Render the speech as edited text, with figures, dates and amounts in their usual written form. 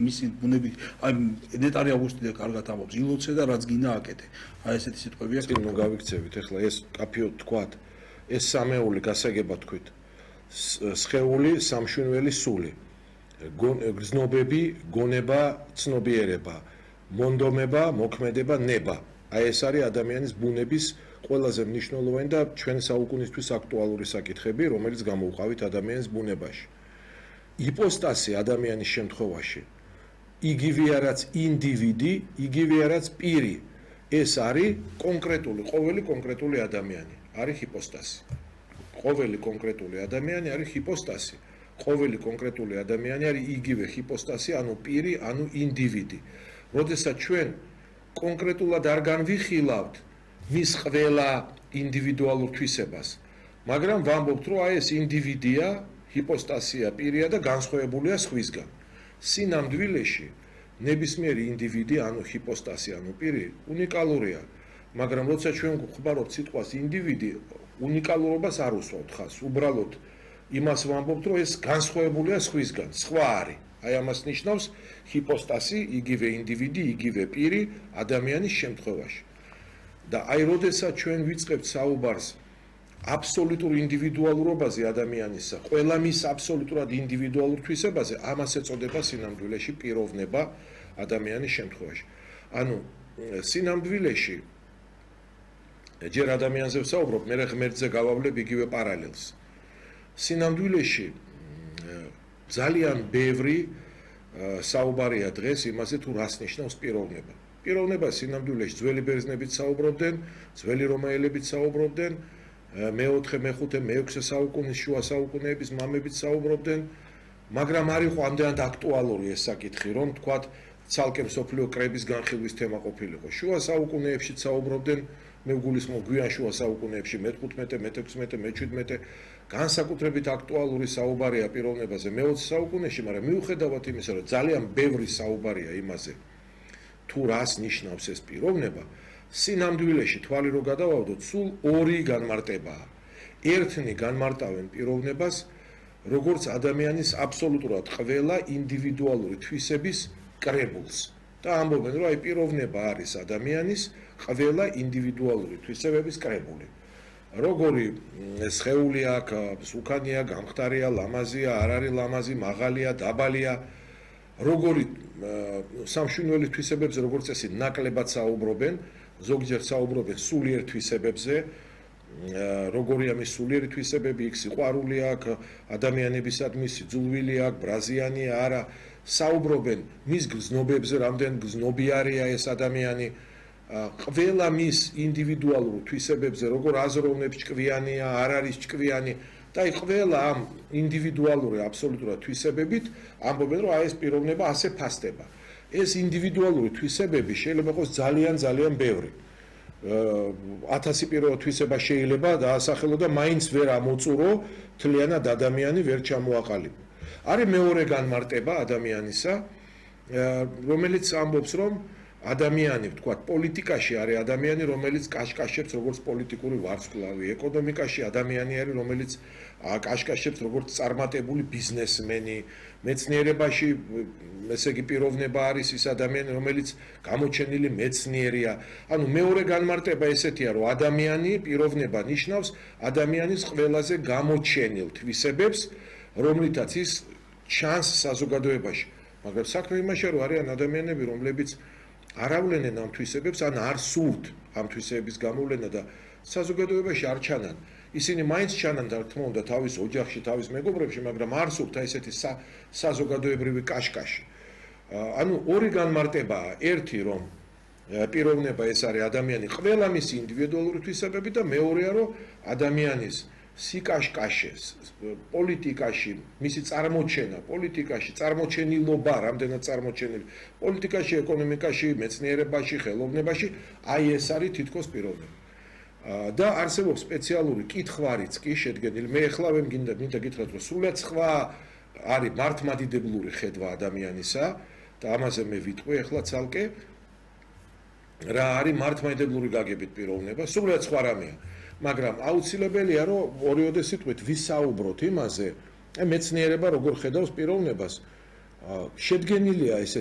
მისი ბუნები აი ნეტარი ავგუსტი კარგად ამბობს ილოცე და რაც გინდა აკეთე აი ესეთი სიტყვებია წინ გავიქცევით ეხლა ეს კაფეო თქვათ ეს სამეული გასაგება თქვით სხეული სამშვენველი სული გზნობები გონება ცნობიერება მონდომება მოქმედება ნება აი ეს არის ადამიანის ბუნების ყველაზე მნიშვნელოვანი და ჩვენ საუკუნისთვის აქტუალური საკითხები რომელიც გამოვყავით ადამიანის ბუნებაში იპოსტასი ადამიანის შემთხვევაში იგივე რაც ინდივიდი, იგივე რაც პირი. ეს არის კონკრეტული, ყოველი კონკრეტული ადამიანი, არის ჰიპოსტასი. ყოველი კონკრეტული ადამიანი არის ჰიპოსტასი. ყოველი კონკრეტული ადამიანი არის იგივე ჰიპოსტასი, ანუ პირი, ანუ ინდივიდი. როდესაც ჩვენ კონკრეტულად არ განვიხილავთ მის ყველა ინდივიდუალურ თვისებას, მაგრამ ვამბობთ, რომ აი ეს ინდივიდია, ჰიპოსტასია, პირია და განსხვავებულია სხვისგან. სინამდვილეში ნებისმიერი ინდივიდი, ანუ ჰიპოსტასი, ანუ პირი, უნიკალურია, მაგრამ როცა ჩვენ გვხმარობთ სიტყვას ინდივიდი, უნიკალურობას არ უსვამთ ხაზს. უბრალოდ იმას ვამბობთ, რომ ეს განსხვავებულია სხვისგან, სხვა არის. აი ამას ნიშნავს ჰიპოსტასი, იგივე ინდივიდი, იგივე პირი ადამიანის შემთხვევაში. და აი როდესაც ჩვენ ვიწყებთ საუბარს აბსოლუტურ ინდივიდუალურობაზე ადამიანისა, ყველა მის აბსოლუტურად ინდივიდუალურ თვისებაზე, ამას ეწოდება სინამდვილეში პიროვნება ადამიანის შემთხვევაში. ანუ სინამდვილეში ჯერ ადამიანზე ვსაუბრობ, მე ღმერთზე გავავლებ იგივე პარალელს. სინამდვილეში ძალიან ბევრი საუბარია დღეს იმაზე თუ რას ნიშნავს პიროვნება. პიროვნება სინამდვილეში ძველი ბერძნებიც საუბრობდნენ, ძველი რომაელებიც საუბრობდნენ, მეოთხე, მეხუთე, მეექვსე საუკუნის შუა საუკუნეების მამებიც საუბრობდნენ, მაგრამ არ იყო ამდენად აქტუალური ეს საკითხი, რომ თქვათ ცალკე მსოფლიო კრების განხილვის თემა ყოფილიყო. შუა საუკუნეებში საუბრობდნენ, მე ვგულისხმობ გვიან შუა საუკუნეებში მე-15, მე-16, მე-17 განსაკუთრებით აქტუალური საუბარია პიროვნებაზე მე-20 საუკუნეში, მაგრამ მიუხედავად იმისა, რომ ძალიან ბევრი საუბარია იმაზე, თუ რას ნიშნავს ეს პიროვნება, სინამდვილეში თვალი რო გადავავდოთ, სულ ორი განმარტებაა. ერთნი განმარტავენ პიროვნებას, როგორც ადამიანის აბსოლუტურად ყველა ინდივიდუალური თვისების კრებულს. და ამბობენ, რომ აი პიროვნება არის ადამიანის ყველა ინდივიდუალური თვისებების კრებული. როგორი სხეული აქვს, უკანია, გამხდარია, ლამაზია, არ არის ლამაზი, მაღალია, დაბალია, როგორი სამშვენიერი თვისებებზე, როგორც წესი, ნაკლებად საუბრობენ, ზოგჯერ საუბრობენ სულიერ თვისებებზე, როგორია მის სულიერი თვისებები, იქ სიყვარული აქვს, ადამიანებისადმი სიძულვილი აქვს, ბრაზიანია, არა, საუბრობენ მის გზნობებზე, რამდენ გზნობიარია ეს ადამიანი, ყველა მის ინდივიდუალურ თვისებებზე, როგორ აზროვნებს ჭკვიანია, არ არის ჭკვიანი და აი ყველა ამ ინდივიდუალური აბსოლუტურად თვისებებით ამბობენ, რომ აი ეს პიროვნება ასე ფასდება. ეს ინდივიდუალური თვისებები შეიძლება იყოს ძალიან ბევრი. 1000 პირველ თვისება შეიძლება დაასახელო და მაინც ვერ ამოწურო, თლიანად ადამიანი ვერ ჩამოაყალიბო. არის მეორე განმარტება ადამიანისა, რომელიც ამბობს, რომ ადამიანი, ვთქვათ, პოლიტიკაში არის ადამიანი, რომელიც კაშკაშებს როგორც პოლიტიკური ვარსკვლავი, ეკონომიკაში ადამიანი არის, რომელიც კაშკაშებს როგორც წარმატებული ბიზნესმენი, მეცნიერებაში ესე იგი პიროვნება არის ის ადამიანი, რომელიც გამოჩენილი მეცნიერია. ანუ მეორე განმარტება ესეთია, რომ ადამიანი პიროვნება ნიშნავს ადამიანის ყველაზე გამოჩენილ თვისებებს, რომლითაც ის ჩანს საზოგადოებაში. მაგრამ საქმე იმაშია, რომ არიან ადამიანები, რომლებიც არ ავლენენ ამ თვისებებს, ან არ სურთ ამ თვისებების გამოვლენა და საზოგადოებაში არ ჩანან. ისინი მაინც ჩანან და თქმა უნდა თავის ოჯახში, თავის მეგობრებში, მაგრამ არ სურთ ესეთი საზოგადოებრივი კაშკაში. ანუ ორი განმარტებაა, ერთი რომ პიროვნება ეს არის ადამიანი ყველა მისი ინდივიდუალური თვისებები და მეორეა რომ ადამიანის სიკაშკაშეს პოლიტიკაში მისი წარმოჩენა, პოლიტიკაში წარმოჩენილობა, რამდენად წარმოჩენილი, პოლიტიკაში, ეკონომიკაში, მეცნიერებაში, ხელოვნებაში, აი ეს არის თითქოს პიროვნება. და არსებობს სპეციალური კითხვარიც კი შედგენილი. მე ახლა ვერ მინდა გითხრათ, რომ სულად სხვა არის მართლმადიდებლური ხედვა ადამიანისა და ამაზე მე ვიტყვი ახლა ცალკე რა არის მართლმადიდებლური გაგებით პიროვნება, სულად სხვა რამეა. მაგრამ აუცილებელია, რომ ორიოდე სიტყვით ვისაუბროთ იმაზე, მეცნიერება როგორ ხედავს პიროვნებას. შედგენილია ეს